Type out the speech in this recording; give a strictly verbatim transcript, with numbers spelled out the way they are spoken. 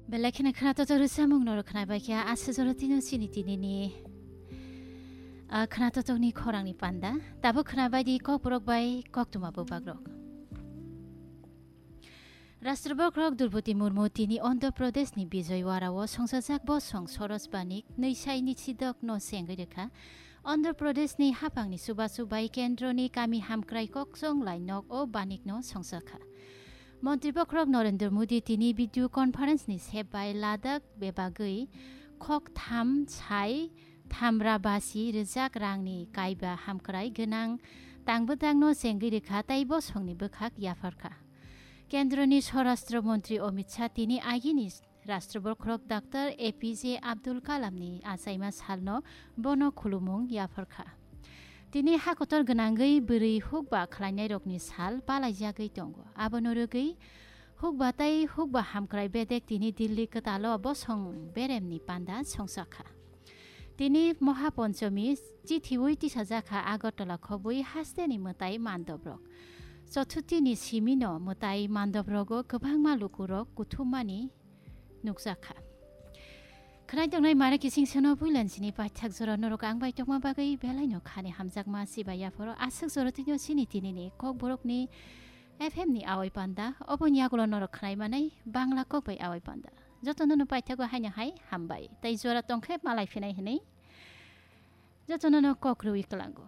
Belai kheno khwnatotok rwchapmung norok khnabai kha, aswk jora tino chini tinini, ah, khwnatotokni khorangni panda. Tabuk khnabai di kokborok bai koktwma bubagrok. Rashtra Bokhorok Droupadi Murmu tini Andhra Pradeshni Vijayawada o songchajak bosong Soros Banik nwi sai ni sidok no chengwi rwkha. Andhra Pradeshni haphangni chubachu bai kendroni kami hamkrai kokchong lai nok o Banik no songchakha. Montri Bokhorok Narendra Modi tini video conference ni sep bai Ladakh bebagwi khok tham sai thamra basi rwjak rangni kaiba hamkrai gwnang tangbwdangno chengwi rwkha tei bosongni bwkhak yapharkha. Kendroni Swarashtra Montri Amit Shah tini agini Rashtra Bokhorok Doctor A P J Abdul Kalamni achaima salno bono khulumung yapharkha. Tini hakotor gwnangwi bwrwi hukba khlainairokni sal palaijagwi tongo. Abono rwgwi hukba tei hukba hamkrai bedek tini Delhi kwtalo bosong beremni panda songchakha. Tini Mohaponchomi chithiwi tisajakha Agartala khobwi hasteni mwtai mandobrok. Chothutini simino mwtai mandobrogo kwbangma lukurok kuthummani nukjakha. Khwnai tongnai mare kising seno puilansini paithak jora norok ang bai tongma bagwi belaino khani hamjakma sibai yaphoro aswk jora tino chini tinini kokborokni F M ni awai panda, oboni yagulo norok khwnai manai Bangla kok bai awai panda. Jotono no paithago haino hai hambai. Tei jora tongkhe malai phinai hinwi jotono no kok rwi kwlango.